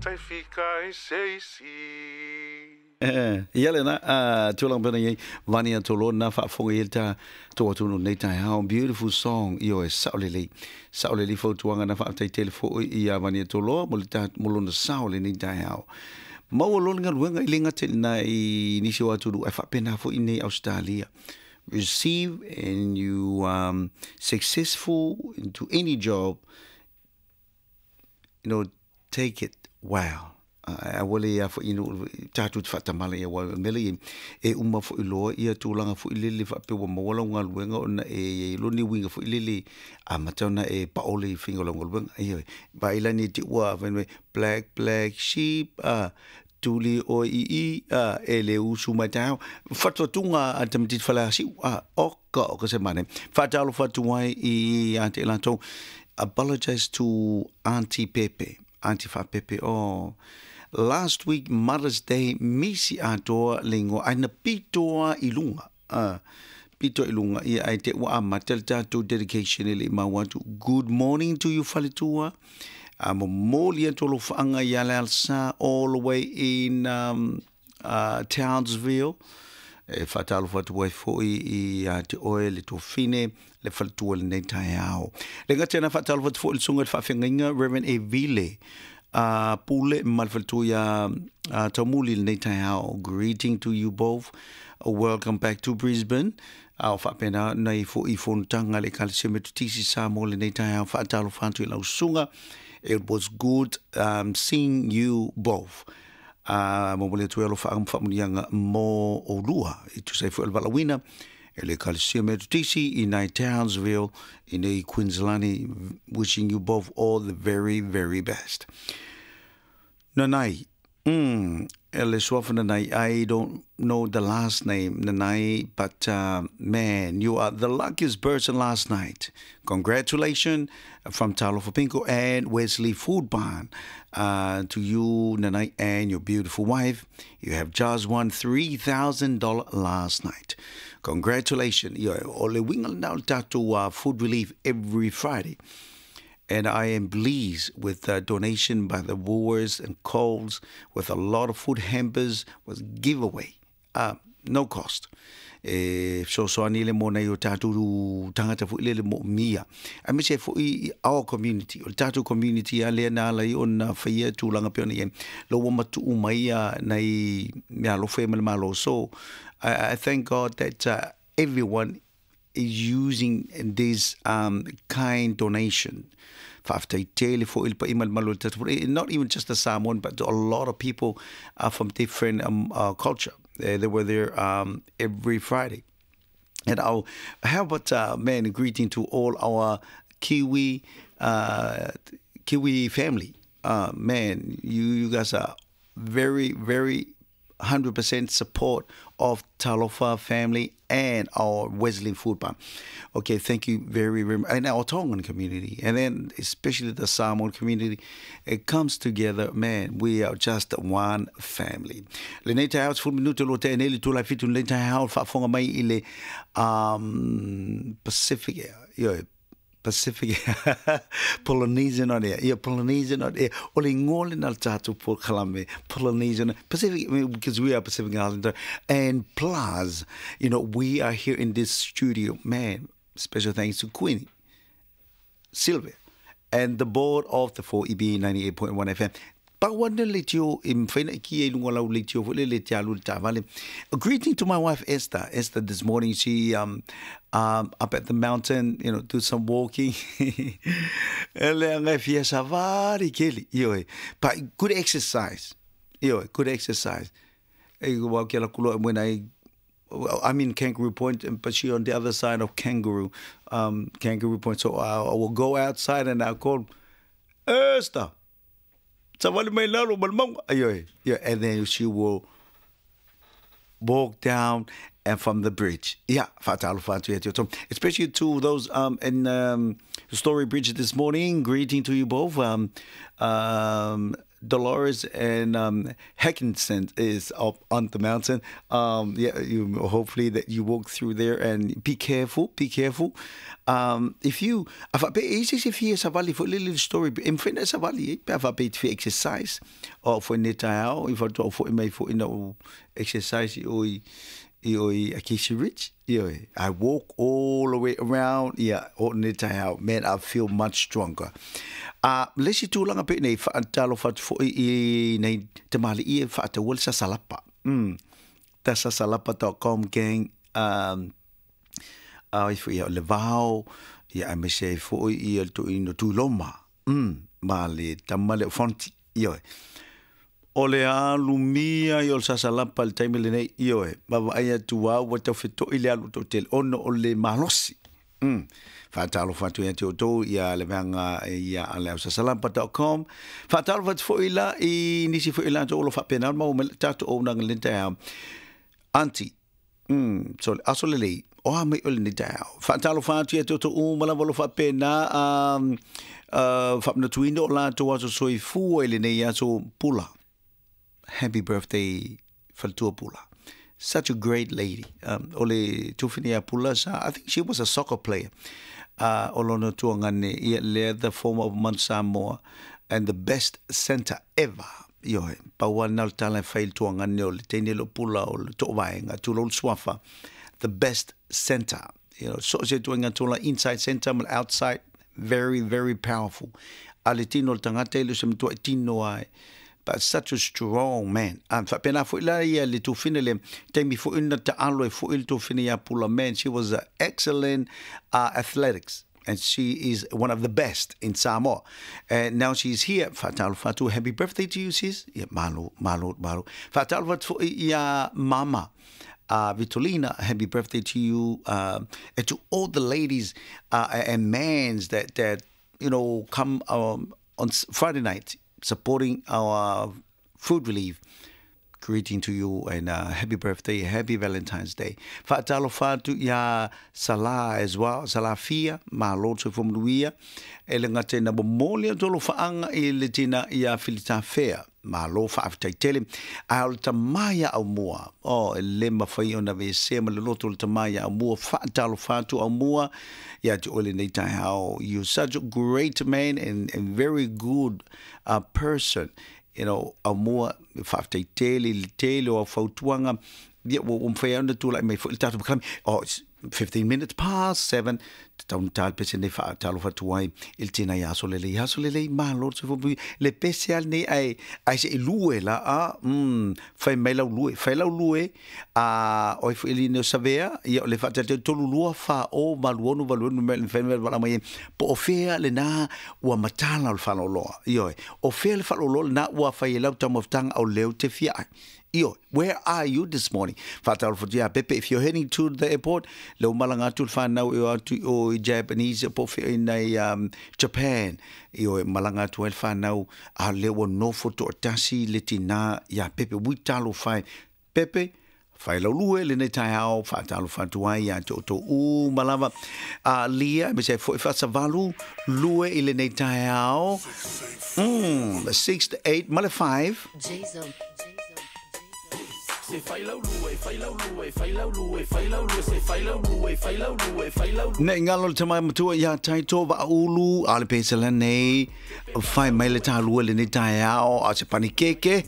Tai fika i se isi. Ia lena, tulaga pei ona i ai Vania Toloa na faafofoga i ai le ta tou atunuu nei taeao. Beautiful song, ioe, sao lelei. Sao lelei fautuaga na faafetai tele foi ia Vania Toloa mo le ta, mo lona sao i lenei taeao. Maua loa le galuega i le gata i lena i nisi o atunuu ae faapena foi i nei Ausetalia. Receive and you um, successful into any job, you know, take it well. Aua le ia foi inu tatou te faatamala ia aua o le mea lea e uma foi loa ia tulaga foi lele faapea ua maua lau galuega ona e i ai loa ni uiga foi lele amata ona e paole i faiga o lau galuega. Ioe, vaai la nei te i ua fai mai black black sheep a tuli oe i i a e le usu mai taeao. Fatuatuga a le tamaitiiti Faleasiu a oka oka se manaia. Faatalofa atu ai ia te i latou. Apologize to Aunty Pepe. Aunty Faapepe, oh last week Mother's Day misi atoa le ingoa ai na pito a i lunga ah pito i lunga ia ai te ua amata le tatou dedication e le i mau atu. Good morning to you faletua. A momoli atu alofaanga ia le alsa all the way in um, Townsville. E faatalofa atu ai foi ia te oe le tuafine, le faletua i lenei taeao. Le gata ina faatalofa atu foi i le susuga i le faafeagaiga Reverend Evile a Pule ma le faletua ia Taumuli i lenei taeao. Greeting to you both. Welcome back to Brisbane. A o faapena ona i foi i fonotaga a le Ekalesia Metotisi Samoa i lenei taeao. Faatalofa atu i lau susuga. It was good um, seeing you both. Ā, momoli atu ai alofaaga ma faamanuiaga mō ʻolua i tusa ai foi o le valaauina e le Ekalesia Metotisi i nai Townsville i nei Queensland. Wishing you both all the very, very best. Nanai, mm, e le suafa Nanai, I don't know the last name, Nanai, but uh, man, you are the luckiest person last night. Congratulations from Talofa Pinko and Wesley Food Barn uh, to you, Nanai, and your beautiful wife. You have just won $3,000 last night. Congratulations. Ia, o le uiga lena o le tatou uh, food relief every Friday. And I am pleased with the donation by the Woolworths and Coles with a lot of food hampers was giveaway. Uh, no cost. E fesoasoani le mō nei o tātou tangata foi lele moomia. Aemaise ai foi i our community, o le tātou community a lea na ala ai ona faia tulaga pei ona i ai. Lo ua matuu mai ia nai mea alofa ia mai le Malo. So, I, I thank God that uh, everyone is using this um, kind donation. Faafetai tele foi i le paia ma le malu o le tatou Not even just the Samoan, but a lot of people are from different um, uh, culture. They, they were there um, every Friday. And I'll, how about, uh, man, a greeting to all our Kiwi, uh, Kiwi family. Uh, man, you, you guys are very, very 100% support of Talofa family and our Wesleyan Food Barn. Okay, thank you very, very much. And our Tongan community, and then especially the Samoan community, it comes together, man, we are just one family. Lenei taeao, 10 minute lo te nei le tula fitu lenei taeao, faafofoga mai i le um, Pacific, ioe, Pacific Polynesian on air. Yeah, Polynesian on air. O le ingoa lena o le tatou polokalame, Polynesian, Pacific, because we are Pacific Islander. And plus, you know, we are here in this studio. Man, special thanks to Queenie, Sylvia, and the board of the 4EB 98.1 FM. Pau ana le leitio e mawhai na i ki e lunga lau leitio foi le le te alu le taavale. A greeting to my wife Esther. Esther this morning she um, um, up at the mountain, you know, do some walking. E le anga e fia savari keli. Ioe. But good exercise. Ioe, good exercise. E wau ki ala kuloa when I I'm in Kangaroo Point, but she on the other side of Kangaroo, um, Kangaroo Point. So I, I will go outside and I'll call Esther. Savali mai lalo ma le mauga. Ioe, yeah, and then she will walk down and from the bridge. Yeah, whaatalofa atu ia te oto. Especially to those um, in um, Story Bridge this morning. Greeting to you both. Um, um, Dolores and Hackenson is up on the mountain. Yeah, you hopefully that you walk through there and be careful, be careful. If you, a faapea e i se isi e fia savali foi le little story, e mafai ona e savali ai pe a faapea e te fia exercise o au foi nei taeao i faatoa ou foi mai foi na ou exercise i o i i o i Acacia Ridge. Ioe, I walk all the way around, ia, o nei taeao, man, I feel much stronger. A le isi tulaga pei nei, faatalofa atu foi i nei tamalii e faataua le sasalapa. The sasalapa.com gang, a ifo ia o le vao, ia aemaise ai foi ia le toeaina o Tuiloma, ma le tama lea o Fonti, ioe. O le alumia ia o le sasalapa i le taimi lenei, ioe, vaavaai atu lava ua tau feto'i le alu toatele ona o le malosi. Faatalofa atu ia te outou ia le vaega ia a le ausasalapa.com. Faatalofa atu foi la i nisi foi o latou o lo o faapena ona maua mai le tatou auaunaga i lenei taeao. Aunty, so le aso lelei, o a mai oe i lenei taeao. Faatalofa atu ia te outou uma lava o lo o faapena faamanatuina o latou aso soifua i lenei aso Pula. Happy birthday Faletua Pula. Such a great lady. O le tufine ia Pula sa, I think she was a soccer player. O lona tuagane ia lea the former of Mount Samoa and the best centre ever. Ioe, pau lava lena o le tala e fai i le tuagane o le teine lea o Pula o le toovaega, tulou le suafa, the best centre. You know, so o se ituaiga tula inside centre ma le outside, very, very powerful. A le tino o le tagata e le o se matuai tino ai. But such a strong man. Faapena foi la ia le tufine le taimi foi na taalo ai foi le tufine ia Pula, man, she was a excellent athletics. And she is one of the best in Samoa. And now she's here. Faatalofa atu, happy birthday to you, sis. Ia, malo, malo, malo. Faatalofa atu foi ia Mama. Vitolina, happy birthday to you. And to all the ladies and mans that, that you know, come on Friday night supporting our food relief. Greeting to you and happy birthday, happy Valentine's Day. Faatalofa atu iā Salah as well, Salah Fia, malo le soifua manuia. E le gata ina momoli atu alofaaga i le tina iā Filitafea. Malo faafetai tele. Ae o le tama ia Aumua, oh, e le mafai ona aveesea ma le loto o le tama ia Aumua. Faatalofa atu Aumua ia te oe lenei taeao. You're such a great man and very good person. You know, Aumua, faafetai tele i le tele o au fautuaga, ia ua ua mafai ai ona tulai mai foi le tatou polokalame. Oh, it's 15 minutes past 7, tatau ona ta le pese nei faatalofa atu ai i le tina ia Aso Lelei. Aso Lelei, malo le soifua manuia. Le pese lava lenei ae, ae se i lue la, a, fai mai lau lue, fai lau lue, a, o ai foi le ine o Savea, ia o le faatalitali 3 2 4 0 8 6 8 6 numera mafai ona valaau mai ai, po o fea lena ua matala o le faaaloaloa. Ioe, o fea le faaaloaloa lena ua fai e lau taumafataga o lea ou te fia ai. Ioe, where are you this morning? Faatalofa atu ia Pepe, if you're heading to the airport, lea ua malaga atu le whanau e o atu i o i Japanese po o fea i nei Japan. Ioe, malaga atu ai le whanau, a lea ua nofo toatasi le tinā ia Pepe. Ui talofa e. Pepe, Whai lau lue lenei taeao, whaatalofa atu ai ia te outou uma lava. A Lia, me se foi whaasavalu, lue i lenei taeao. 6 to 8, ma le 5. Nei ngalo le tama matua ia Taito Vaaulu, a le pesela nei, whai mai le tālua lenei taeao, a se panikeke.